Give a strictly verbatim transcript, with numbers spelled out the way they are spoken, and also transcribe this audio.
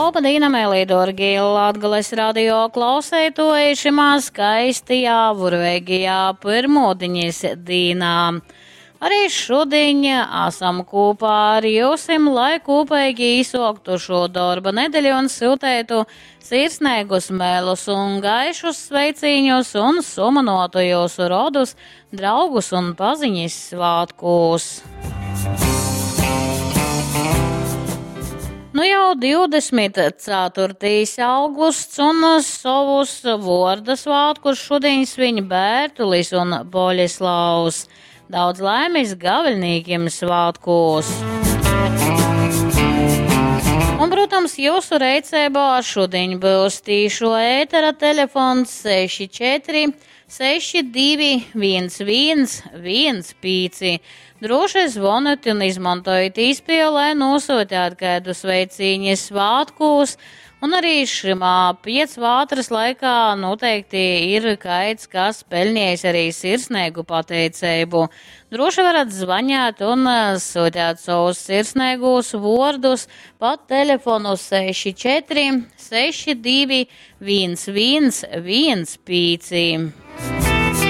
Loba dīna, meilī dōrgī Latgales radio klauseitoji šimā skaistajā, burveigajā pyrmūdiņas dīnā. Arī šudiņ esam kopā ar jūsim, lai kopīgi īsoktu šo darba nedēļu un sūtētu sirsnīgus mēlus un gaišus sveicīņus un sumanotu jūsu rodus, draugus un paziņas svātkūs. Nu jau divdesmit ceturtais augusts un savus vorda svātkus šodien sviņ Bērtulis un Boļeslavs. Daudz laimes gaviļnīkiem svātkos! Un, protams, jūsu reicībā šodien būs tīšo ētera telefons seši četri seši divi viens viens viens pīci. Droši zvoniet un izmantojiet īspēju, lai nosūtāt kādu sveicīņu svātkūs. Un arī šimā piecvātras laikā noteikti ir kaids, kas peļņējis arī sirsnīgu pateicību. Droši varat zvanīt un sūtīt savus sirsnīgos vārdus pa telefonu seši četri seši divi viens viens viens pīci.